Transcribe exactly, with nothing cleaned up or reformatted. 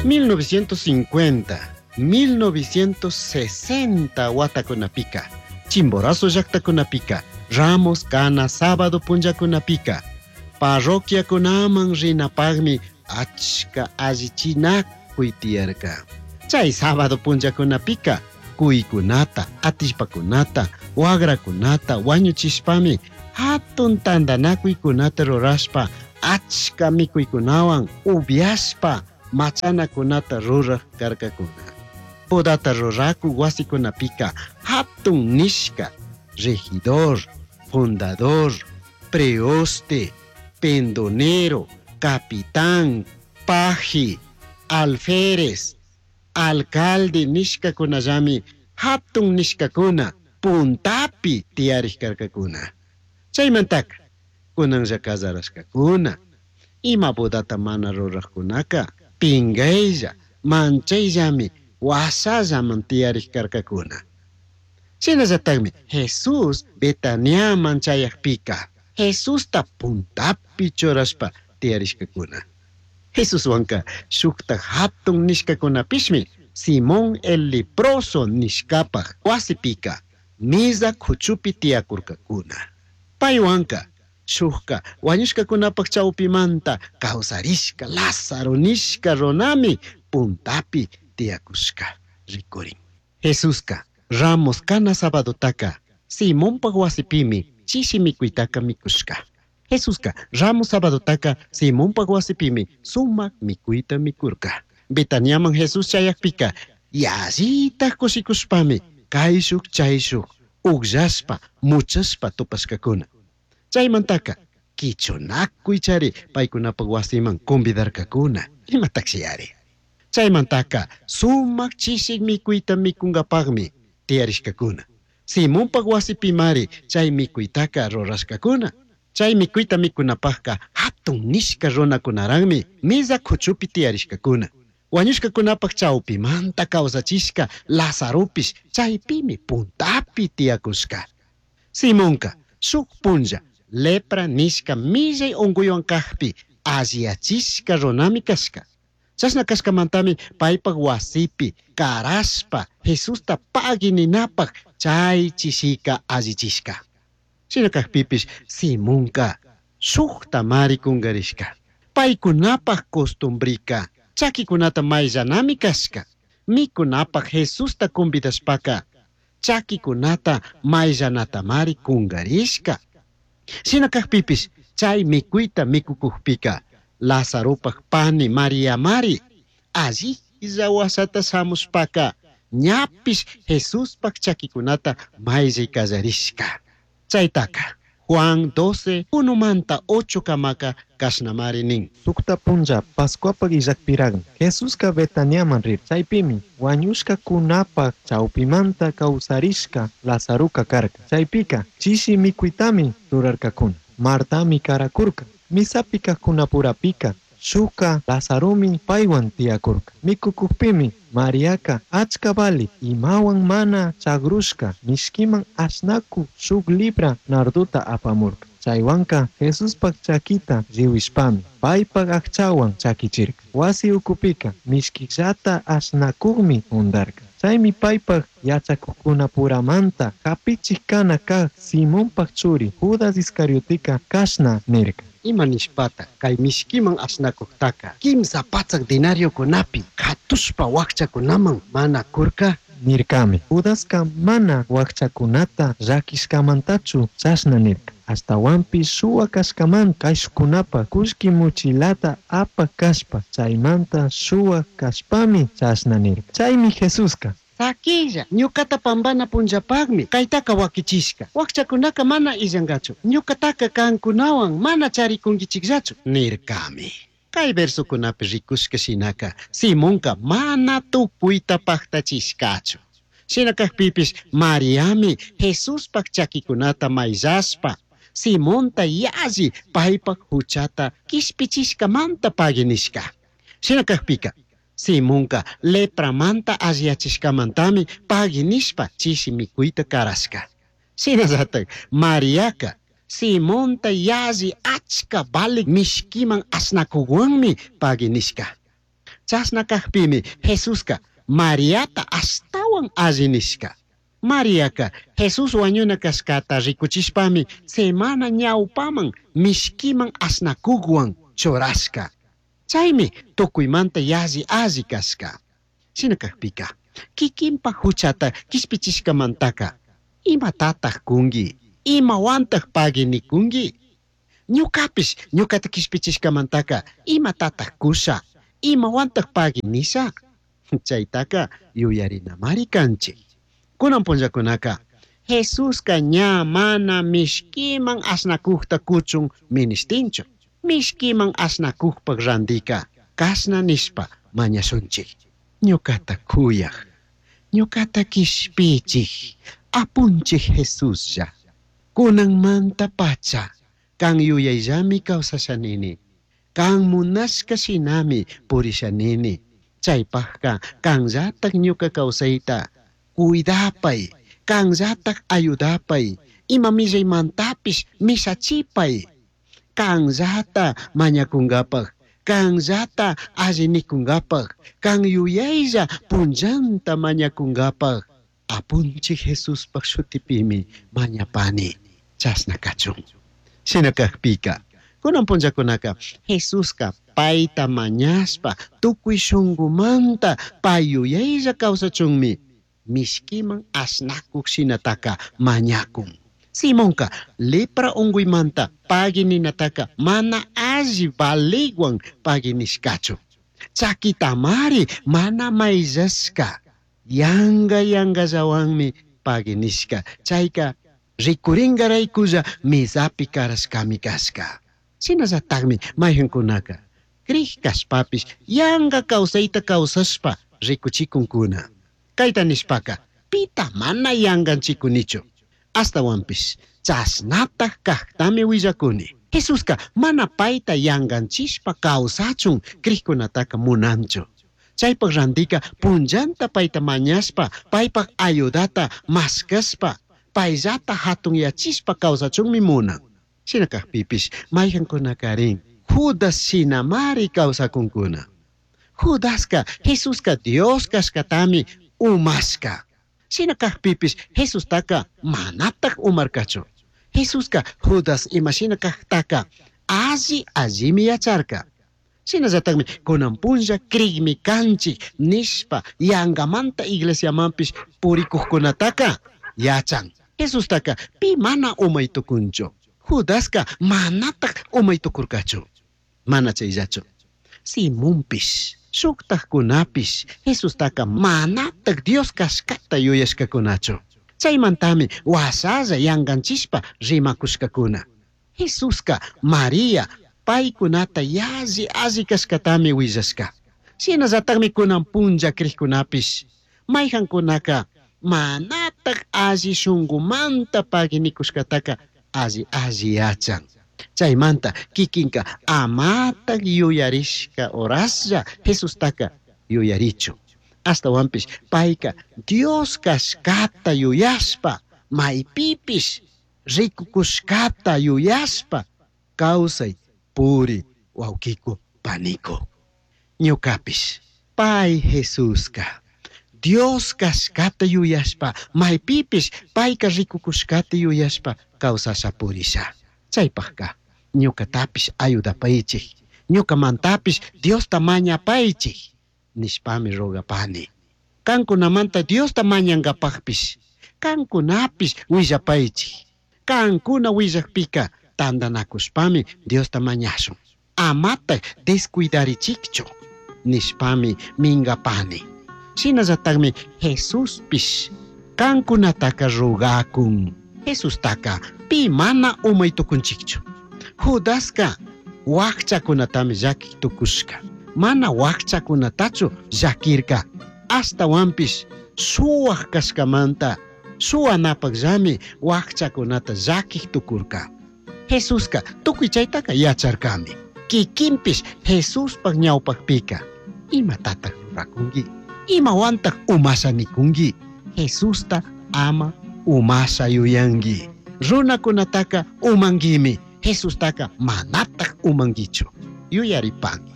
mil novecientos cincuenta, mil novecientos sesenta watakunapika, Chimborazo llaqtakunapika, Ramos kana sábado punllakunapika, parroquiakunaman rinapaqmi achka allichinakuy tiyarka. Chay sábado punllakunapika, kuykunata, atishpakunata, wagrakunata wañuchishpami hatun tantanakuykunata rurashpa achka mikuykunawan upiashpa machanakunata ruraj karkakuna. Bodata ruraku wasikunapika hatun nishka regidor, fundador, preoste, pendonero, capitán, paji, alférez, alcalde nishkakunallami hatun nishkakuna puntapi tiyarish karkakuna. Chaymantaka kunanlla casarashkakuna, ima bodata mana rurajkunaka pingaylla, manchayllami wasallaman tiyarish karkakuna. Shinallatakmi Jesús Betaniaman chayajpika Jesusta puntapi churashpa tiyarishkakuna. Jesuswanka shukta hatun nishkakunapishmi Simón el leproso nishkapaj wasipika misa kuchupi tiyakurkakuna. Paywanka shukka wañushkakunapaj chawpimanta kawsarishka Lázaro nishka runami puntapi tiyakushka rikurin. Jesuska Ramos kana sabadotaka Simonpaj wasipimi chishi mikuytaka mikushka. Jesuska Ramos sabadotaka Simonpaj wasipimi sumak mikuyta mikurka. Betaniaman Jesús chayakpika yallita kushikushpami kayshuk chayshuk ukllashpa muchashpa tupashkakuna. Chaymantaka kichunakuy chari paykunapaj wasiman convidarkakuna. Imatakshiyari. Chaymantaka sumak chishik mikuyta mikunkapaqmi tiyarishkakuna. Simonpaj wasipimari chay mikuytaka rurashkakuna. Chay mikuyta mikunapaqka hatun nishka runakunaraqmi misa kuchupi tiyarishkakuna. Wañushkakunapaq chawpimanta kawsachishka Lazaropish chaypimi puntapi tiyakushka. Simonka shuk punlla lepra nishka millay unkuywan kaqpi alliyachishka runami kashka. Chashna kashkamantami paypaq wasipi karashpa Jesusta pagui ninapaq chay chishika allichishka. Shina kaqpipish Simonka shukta mari kunkarishka. Paykunapaq costumbrika chakikunata mayllanami kashka. Mikunapaq Jesusta convidashpaka chakikunata mayllanatamari kunkarishka. Shina kaqpipish chay mikuyta mikukukpika Lazaropaq pani Maria mari allilla wasata shamushpaka ñapish Jesuspaq chakikunata mayllay kallarishka. Chaytaka Juan doce, uno manta ocho kamaka kashnamari nin. Sukta punlla Pascuapaq illakpiraqmi Jesuska Betaniaman rir. Chaypimi wañushkakunapaq chawpimanta kawsarishka Lazaruka karka. Chaypika chishi mikuytami rurarkakuna. Martami karakurka. Misapi kaqkunapurapika shuka Lazaromi paywan tiyakurka. Mikukupimi Mariaka achka vali imawan mana chagrushka mishkiman ashnaku shuk libra narduta apamurka. Chaywanka Jesuspaq chakita riwishpami paypaq aqchawan chakichirka. Wasi ukupika mishkillata ashnakukmi undarka. Chaymi paypaq yachakuqkunapuramanta hapichik kana kaq Simonpaq churi Judas Iscariotika kashna nirka. Ima nishpata kay mishkiman ashnakuqtaka kimsa patsak denariokunapi katushpa wakchakunaman mana kurka? Nirkami. Judaska mana wakchakunata llakishkamantachu chashna nirka. Ashtawanpish shuwa kashkamanta kayshkunapa kullki muchilata apak kashpa chaymanta shuwa kashpami chashna nirka. Chaymi Jesuska Sakilla, ñukata pambana punllapaqmi kaytaka wakichishka. Wakchakunaka mana illankachu. Ñukataka kankunawan mana charikunkichikllachu. Nirkami. Kay versokunapi rikushka shinaka Simonka mana tukuyta paqtachishkachu. Shina kaqpipish Mariami Jesuspaq chakikunata mayllashpa Simonta yalli paypaq huchata kishpichishkamanta pagui nishka. Shina kaqpika Simonka lepramanta alliyachishkamantami pagui nishpa chishi mikuyta karashka. Shinallatak Mariaka Simonta yalli achka valik mishkiman ashnakuwanmi pagui nishka. Chashna kajpimi Jesuska Mariata ashtawan alli nishka. Mariaka Jesús wañuna kashkata rikuchishpami semana ñawpaman mishkiman ashnakukwan churashka. Chaymi tukuymanta yalli alli kashka. Shina kajpika kikinpa huchata kishpichishkamantaka imatataj kunki? Imawantaj pagui nikunki? Ñukapish ñukata kishpichishkamantaka imatataj kusha? Imawantaj pagui nisha? Chaytaka yuyarinamari kanchik. Kunan punllakunaka Jesuska ña mana mishkiman ashnakukta kuchun minishtinchu. Mishkiman ashnakukpak randika kashna nishpa mañashunchik. Ñukata kuyaj, ñukata kishpichik, apunchik Jesuslla. Kunanmanta pacha kan yuyayllami kawsashanini. Kan munashka shinami purishanini. Chaypajka kanllatak ñuka kawsayta cuidapay, kanllatak ayudapay, ima millaymantapish mishachipay. Kanllata mañakunkapaj, kanllata alli nikunkapaj, kan yuyaylla punllanta mañakunkapaj. Apunchik Jesuspaj shutipimi mañapani, chashna kachun. Shina kajpika, kunan punllakunaka Jesuska payta mañashpa tukuy shunkumanta pay yuyaylla kawsachunmi mishkiman ashnakuk shinataka mañakun. Simonka lepra unkuymanta pagui ninataka mana alli valigwan pagui nishkachu. Chakitamari mana mayllashka, yanga yangallawanmi pagui nishka. Chayka rikurinkaraykulla misapi karashkami kashka. Shinallatakmi mayqinkunaka krij kashpapish yanga kawsayta kawsashpa rikuchikunkuna. Kayta nishpaka pita mana yanganchikunichu. Ashtawanpish chashnataj kajtami willakuni. Jesuska mana payta yanganchishpa kawsachun krijkunataka munanchu. Chaypak randika punllanta payta mañashpa, paypak ayudata mashkashpa, payllata hatunyachishpa kawsachunmi munan. Shina kajpipish mayqankunakarin Judas shinamari kawsakunkuna. Judaska Jesuska Dios kashkatami umashka. Shina kajpipish Jesustaka manataj umarkachu. Jesuska Judas imashina kajtaka alli allimi yacharka. Shinallatakmi kunan punlla krikmi kanchik nishpa yangamanta iglesiamanpish purikukkunataka yachan. Jesustaka pi mana umay tukunchu. Judaska manataj umay tukurkachu. Mana chayllachu. Simonpish, shuktajkunapish Jesustaka manataj Dios kashkata yuyashkakunachu. Chaymantami washalla yanganchishpa rimakushkakuna. Jesuska Maria paykunata yalli alli kashkatami willashka. Shinallatakmi kunan punlla krikkunapish mayqankunaka manataj alli shunkumanta pagui nikushkataka alli alli yachan. Chaymanta kikinka amataj yuyarishka horaslla Jesustaka yuyarichu. Ashtawanpish payka Dios kashkata yuyashpa maypipish rikukushkata yuyashpa kawsay puri wawkiku paniku. Ñukapish pay Jesuska Dios kashkata yuyashpa maypipish payka rikukushkata yuyashpa kawsasha purisha. Chaypajka ñukatapish ayudapaychik, ñukamantapish Diosta mañapaychik nishpami rogapani. Kankunamanta Diosta mañankapajpish kankunapish willapaychik. Kankuna willakpika tantanakushpami Diosta mañashun. Amataj descuidarichikchu nishpami minkapani. Shinallatakmi Jesuspish kankunataka rogakun. Jesustaka pi mana umay tukunchikchu. Judaska wakchakunatami llakik tukushka. Mana wakchakunatachu llakirka. Ashtawanpish suwaj kashkamanta suwanapakllami wakchakunata llakik tukurka. Jesuska tukuy chaytaka yacharkami. Kikinpish Jesuspak ñawpakpika imatataj rurakunki? Imawantaj umasha nikunki? Jesusta ama umasha yuyanki. Runakunataka umankimi. Jesustaka manataj umankichu. Yuyaripanki.